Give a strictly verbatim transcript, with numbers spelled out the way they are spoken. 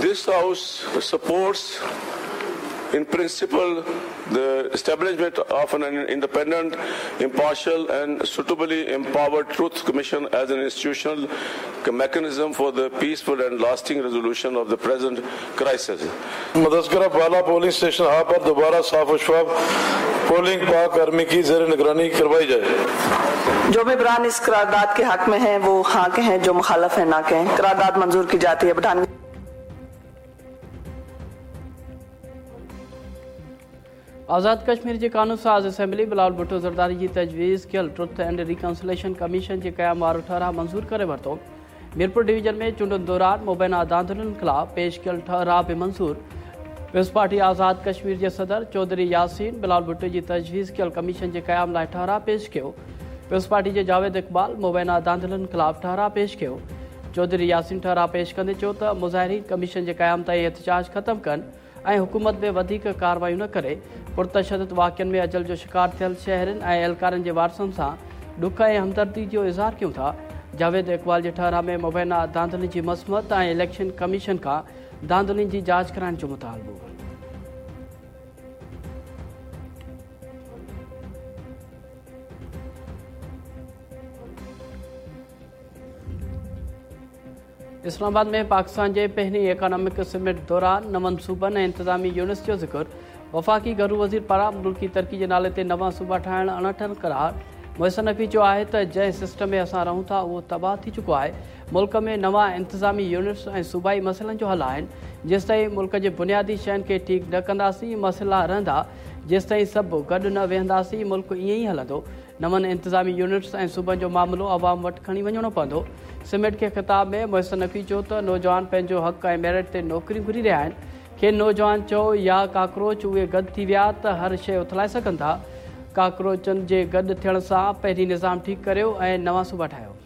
This house supports in principle the establishment of an independent, impartial and suitably empowered Truth Commission as an institutional mechanism for the peaceful and lasting resolution of the present crisis. मुतज़्ज़किरा बाला polling station हा पर दोबारा साफ और शफाफ polling पाक army की ज़ेर निगरानी करवाई जाए। जो मेंबरान इस करारदाद के हक में हैं वो हाँ कहें, जो मुखालफ हैं ना कहें। करारदाद मंजूर की जाती है। बठान आज़ाद कश्मीर जी कानून साज़ असेंबली बिलावल भुट्टो ज़रदारी जी तजवीज़ कयल ट्रुथ एंड रिकन्सिलेशन कमीशन जे क़याम वारो ठहिराउ मंज़ूर करे वरितो। मीरपुर डिवीज़न में चूंडुनि दौरान मुबैना धांधलियुनि ख़िलाफ़ पेश कयल ठहिराउ बि मंज़ूर। पीपल्स पार्टी आज़ाद कश्मीर जे सदर चौधरी यासीन बिलावल भुट्टो जी तजवीज़ कयल कमीशन जे क़याम लाइ ठहिराउ पेश कयो। पीपल्स पार्टी जे जावेद इक़बाल मुबैना धांधलियुनि ख़िलाफ़ ठहिराउ पेश कयो। चौधरी यासीन ठहिराउ पेश कंदे चयो त मुज़ाहिरीन कमीशन जे क़याम ताईं एहतजाज ख़त्म कनि ऐं हुकूमत में वधीक कार्रवाइयूं न करे। पुरतशद्दुद वाक़िअनि में अजल जो शिकार थियल शहरनि ऐं एहलकारनि जे वारसनि सां ॾुख ऐं हमदर्दी जो इज़हार कयूं था। जावेद इक़बाल जे ठहिराउ में मुबैना धांधलियुनि जी मसमत ऐं इलेक्शन कमीशन खां धांधलियुनि जी जांच कराइण जो मुतालबो। इस्लामाबाद में पाकिस्तान जे पहिरीं इकोनॉमिक समिट दौरान नवनि सूबनि ऐं इंतिज़ामी यूनिट्स जो ज़िक्र। वफ़ाक़ी घरू वज़ीर पारां मुल्की तरक़ी जे नाले ते नवां सूबा ठाहिण अणठर करार। मोहसिन नक़वी चयो आहे त जंहिं सिस्टम में असां रहूं था उहो तबाह थी चुको आहे। मुल्क में नवां इंतिज़ामी यूनिट्स ऐं सूबाई मसइलनि जो हल आहिनि। जेसिताईं मुल्क जे बुनियादी शयुनि खे ठीकु न कंदासीं मसइला रहंदा। जेसिताईं सभु गॾु न वेहंदासीं मुल्क ईअं ई हलंदो। नवनि इंतिज़ामी यूनिट्स ऐं सूबनि जो मामिलो अवाम वटि खणी वञिणो पवंदो। समिट खे ख़िताब में मोहसिन नक़वी चयो त नौजवान पंहिंजो हक़ ऐं मेरिट ते नौकरियूं घुरी रहिया आहिनि। खेनि नौजवान चओ या काकरोच उहे गॾु थी विया त हर शइ उथलाए सघनि था। काकरोचनि जे गॾु थियण सां पहिरीं निज़ाम ठीकु करियो ऐं नवां सूबा ठाहियो।